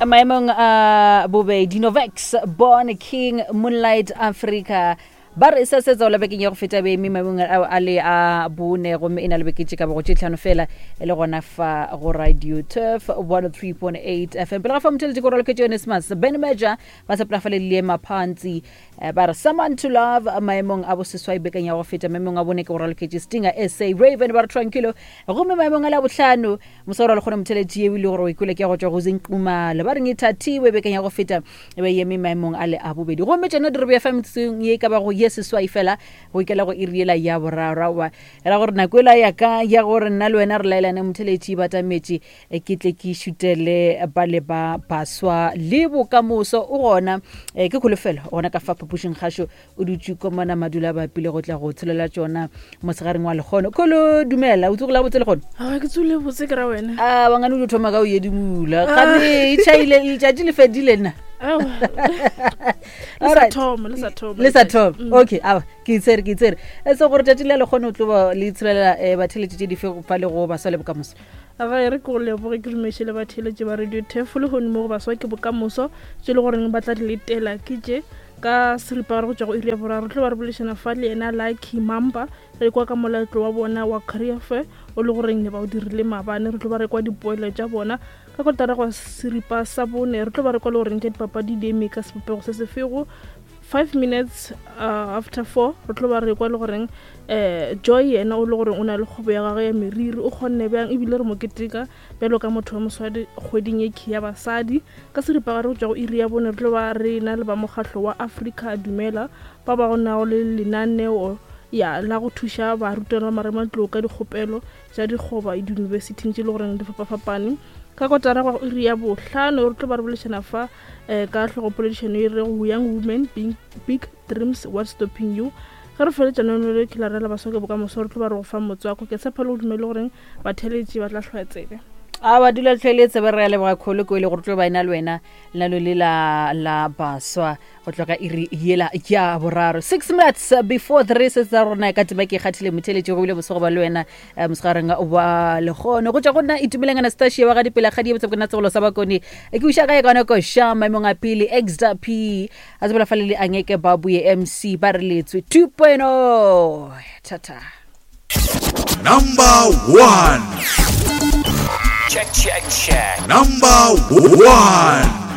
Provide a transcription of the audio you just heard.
Maemong a bobedi, Novex, Born King, Moonlight Africa ba re se se tsola bekeng ya go feta be eme maemong ao a le a bone, gomme e na le beke tše ka bago tše tlhano fela e le gona fa go Radio Turf 103.8 FM. Pele ga fa motheletše ko raloketše Onesmus Ben Major ba sepela fa le le phantsi, ba re Someone to Love maemong a boseswai bekeng ya go feta. Maemong a bone ke go raloketše Stinger SA Raven ba re Tranquilo, gomme maemong a la bohlano mosoro le kgone motheletši eo e le gore o ikwele ke ya go tšwa go Zinqumalo ba reng e thathiwe bekeng ya go feta e be eme maemong a le a bobedi. Gomme tšona di re bea fa metsotsong ye e ka bago ye seswai fela go ikela go iri yela ya boraro. Aowa, e ra gore nako ela ya ka ya gore nna le wena re laelane motheletši batametše, ke tle ke šutele ba le ba baswa le bokamoso. O gona, ke kholofelo gona ka fa phapošing kgašo o dutše ko mona madula ba pile go tla go tshelela tšona mosegareng wa lekgono. Kholo, dumela, o tsogile botse lekgono? A ke tsogile botse, ke ra wena. A bangane o dio thoma ka o yedimula gape e tšhaile letšatši le fedile nna. Le sa thoma, le sa thoma. Le sa thoma. Okay, awa ke itsere, ke itsere e se gore tšatši le lekgono o tlo le itshelela batheletši tše dife fa le go baswa le bokamoso? Ga e re ke go leboge, ke dumeše le batheletši ba Radio Tefo le gone mo go baswa ke bokamoso tše le goreng ba tla di letela ke tše ka seripagare go tšwa go iri ya boraro. Re tlo ba re boledišana fa le yena Lucky Mamba, re kwa ka moletlo wa bona wa career fair o le goreng ne ba o dirile maabane. Re tlo ba re kwa dipoelo tša bona. Ka kotara go seripa sa bone re tlo ba re kwa le goreng tša dipapadi di eme ka sebopego se sefego. 5 minutes after 4 re tlo ba re kwa le goreng Joy yena o le goreng o na le kgwebo ya gagwe ya meriri, o kgonne bjang, ebile re mo keteka bjalo ka motho wa moswadi kgweding ye key ya basadi. Ka seripagare go tšwa go iri ya bone re tlo ba re na le ba mokgahlo wa Africa Dumela ba ba nago le lenaneo ya la go thuša barutwana ba marematlou ka dikgopelo tša dikgoba diyunibesithing tše le goreng di fapafapane. Ka kotara go iri ya bohlano re tlo ba re boledišana fa ka hlogopoledišano e rego Young Women Big, Big Dreams, What's Stopping You. Ge re feletša lenaneo le ke la rela baswa ke bokamoso, re tlo ba re go fa motswako. Ke tshepa le go dumele goreng batheeletši ba tla hlwaya tsebe. A ba dula tlhwele tsebe. Re a leboga kgolo ko e le gore tlo ba ena le wena lenano le la la baswa go tloga iri yela ya boraro, 6 minutes before 3. Se sa rona ka tema ke kgathile motheletši go bile bosego ba le wena mosegareng wa lekgono. Go tšwa go nna Itumeleng Anastasia wa ga dipela kgadi ye botse ke nna tsegolo sa bakone ke uša ka ye kaone koša maemong a pele XDP a tsebela fa le le angeke ba buye MC ba re letswe 2.0. Thata. Number 1. Check, check, check. Number 1.